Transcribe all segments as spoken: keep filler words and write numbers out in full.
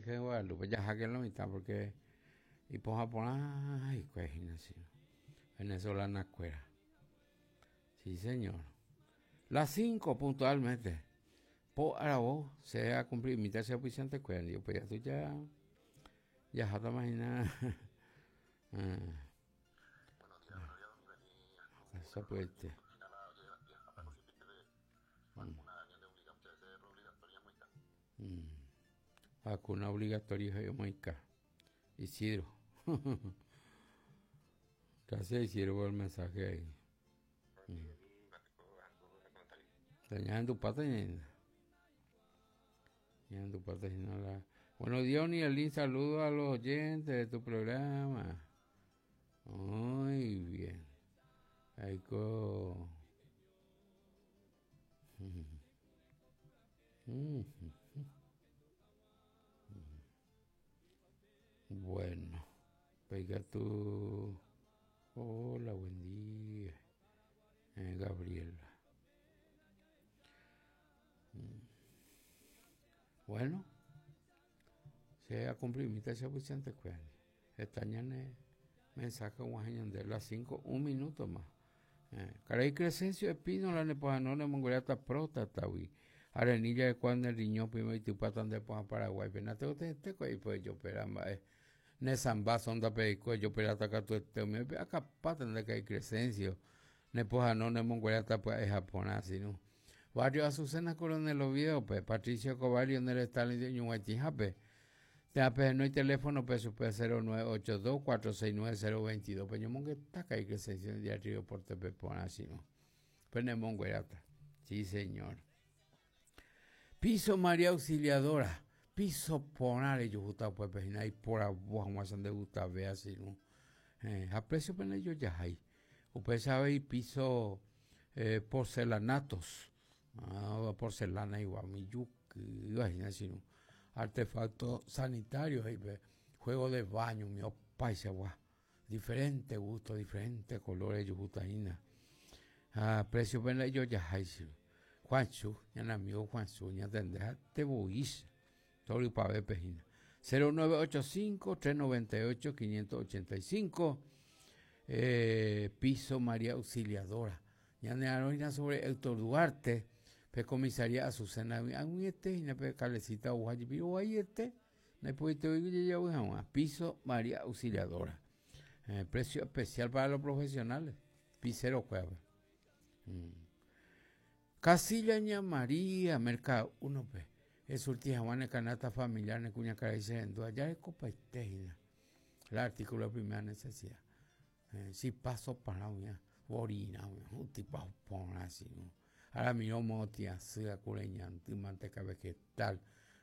Virgen de Guadalupe, ya que lo mitad porque y poja por ahí, pues, venezolana cuera. Sí, señor. Las cinco puntualmente. Po arabo se ha cumplido mitad se oficiante cuera. Yo pues ya tú ya ya jata imagina. Eso puede. Mm. Vacuna obligatoria yo Isidro. Gracias Isidro por el mensaje ahí. Mm. tu pata tu pata la. Buenos días, Unielín, saludo a los oyentes de tu programa. Muy bien. Ahí co. Bueno, pega tú. Hola, buen día. Eh, Gabriela. Bueno, se ha cumplido mi tarea pues Esta mensaje de las cinco, un minuto más. Eh, Caray Crescencio Espino, la nepojano, Mongolia, próstata, Arenilla de cuando el riñón primero y tu patán de poja Paraguay. Penate te te y pues yo peramba eh. Nesamba sonda peico yo perata tu este me acá patan de que Crescencio. Nepojano ne Mongolia pues es japonés sino. Barrio Azucena Coronel Oviedo, pe Patricio Cobario en el Stalin de Ñuguachijape. Te ape no hay teléfono P S P cero nueve ocho dos cuatro seis nueve cero veintidós. Peño mongue taca y Crescencio de Río por T P pona sino. Pene Monguerata. Sí, señor. Piso María Auxiliadora, piso ponare yo gusta pues pejina y por abajo más de gusta ve así no. Eh, a precio pene yo ya hay. Usted sabe y piso eh, porcelanatos, ah, porcelana igual mi yuki, así no. Artefactos sanitarios y juego de baño, mi paisa guau. Diferente gusto, diferentes colores yo gusta ina. A precio pene yo ya hay. Juanchu, ya amigo Juanchu, ya tendrá te voy, todo el pa' pejina. cero nueve ocho cinco, tres noventa y ocho, quinientos ochenta y cinco, eh, piso María Auxiliadora. Ya ne aroina sobre Héctor Duarte, pe comisaría Azucena, a este, y pe calecita ujayi, pero ahí este, no puede te oigo ya voy a piso María Auxiliadora. Eh, precio especial para los profesionales, pisero cueva. Mm. Casilla Ña María, Mercado uno P. Es surtija Juana canasta familiar, ne cuña cara dice en ya es copa y el artículo de primera necesidad. Eh, si paso para una orina, un tipo pon así, ¿no? Ahora mi motia, sea cureñante, manteca vegetal,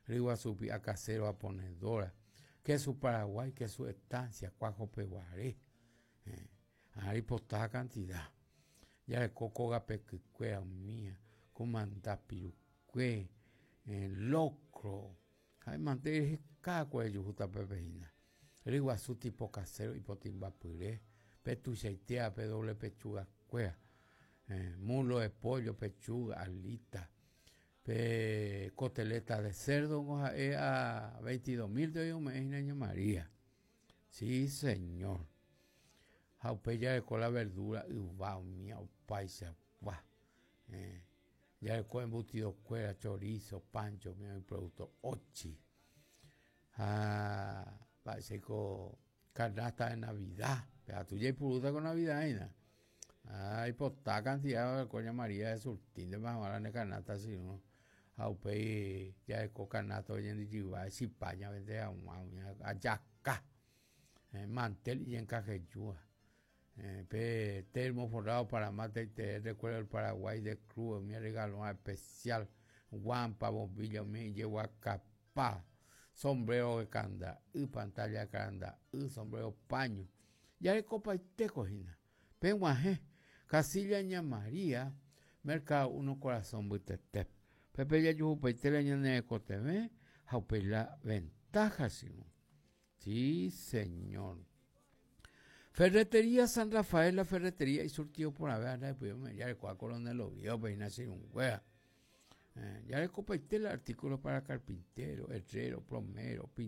riguazupi, a casero, a ponedora, que su Paraguay, que su estancia, cuajo peguaré. Eh, ahí postada cantidad. Ya el coco gapequicuea mía, comanda pirucue, locro. Ay, mantener cada cuello justa pepejina. Riguazú tipo casero y potimba puré, petuchaitea, pe doble pechuga cuea, eh, mulo de pollo, pechuga, alita, pe coteleta de cerdo, eh, a veintidós mil de hoy, me María. Sí, señor. Jaupeya de cola verdura, y va, mía, paisa, va. Eh, ya de cola embutido, cuera, chorizo, pancho, mía, producto, ochi. Ah, parece con canasta de Navidad. Pero tú ya hay puruta con Navidad, ¿no? Ay, pues está cantidad de coña María de surtín de más de canasta, así, ¿no? Jaupe, ya de cola canasta, oye, en Digiva, Chipaña, vende a ayaca, eh, mantel y encajeyúa. Eh, pe, termo forrado para mate y te recuerdo el Paraguay de Cruz, mi regalo especial, guampa, bombilla, mi llevo a capá, sombrero de canda, y pantalla de canda, y sombrero paño. Ya le copa y te cojina. Penguaje, Casilla Ña María, Mercado Uno Corazón Butetep. Pepe ya yuhu peitela ña ne coteme, jaupela ventaja, Simón. Sí, señor. Ferretería San Rafael, la ferretería y surtido por haber, pues ya le cual coronel Oviedo, pues nacer un hueá. Eh, ya le copa el artículo para carpintero, herrero, plomero,